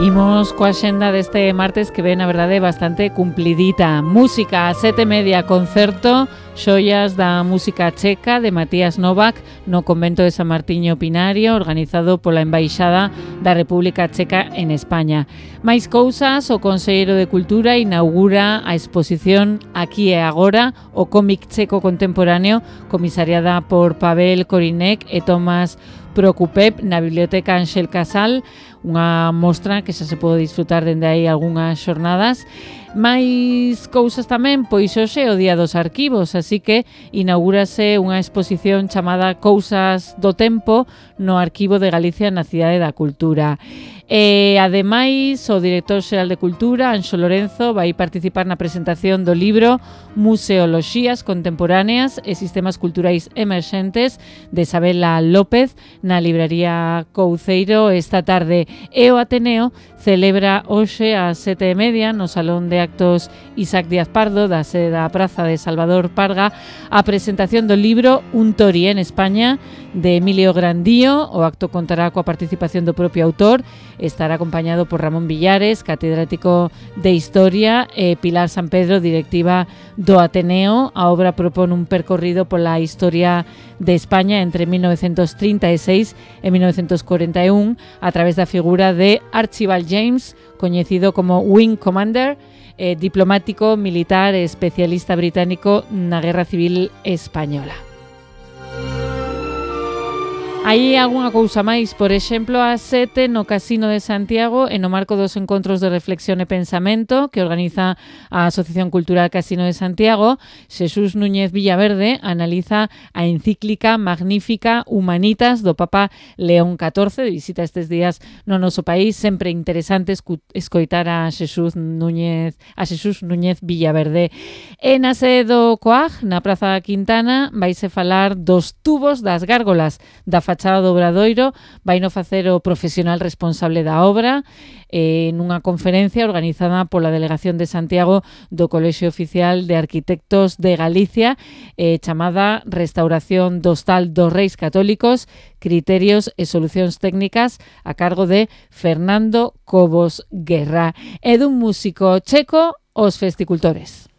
Imos coa xenda deste martes que ven, a verdade, bastante cumplidita. Música a 7:30, concerto Xoias da Música Checa de Matías Novak no convento de San Martiño Pinario, organizado pola Embaixada da República Checa en España. Máis cousas, o Conselleiro de Cultura inaugura a exposición Aquí e Agora, o cómic checo contemporáneo, comisariada por Pavel Korinek e Tomás Prokupep na Biblioteca Ángel Casal, unha mostra que xa se pode disfrutar dende aí algunhas xornadas. Mais cousas tamén, pois hoxe é o Día dos Arquivos, así que inaugúrase unha exposición chamada Cousas do Tempo no Arquivo de Galicia na Cidade da Cultura. E, ademais, o director xeral de Cultura, Anxo Lorenzo, vai participar na presentación do libro Museoloxías Contemporáneas e Sistemas Culturais Emerxentes de Isabela López na libraría Couceiro esta tarde. E o Ateneo celebra hoxe ás 7:30 no Salón de Actos Isaac Díaz Pardo da sede da Praza de Salvador Parga a presentación do libro Un Tori en España de Emilio Grandío. O acto contará coa participación do propio autor, estará acompañado por Ramón Villares, catedrático de Historia, e Pilar San Pedro, directiva do Ateneo. A obra propón un percorrido pola historia de España entre 1936 e 1941 a través da figura de Archibald James, coñecido como Wing Commander, diplomático, militar e especialista británico na Guerra Civil Española. Hai algunha cousa máis, por exemplo, ás 7 no Casino de Santiago, e no marco dos encontros de reflexión e pensamento que organiza a Asociación Cultural Casino de Santiago, Xesús Núñez Villaverde analiza a encíclica magnífica Humanitas do Papa León XIV, de visita estes días no noso país. Sempre interesante escoitar a Xesús Núñez Villaverde. E na sede do COAG, na Praza da Quintana, vaise falar dos tubos das gárgolas da fachada do Obradoiro. Vaino facer o profesional responsable da obra nunha conferencia organizada pola Delegación de Santiago do Colexio Oficial de Arquitectos de Galicia, chamada Restauración do Hostal dos Reis Católicos, Criterios e Solucións Técnicas, a cargo de Fernando Cobos Guerra. E dun músico checo, Os Festicultores.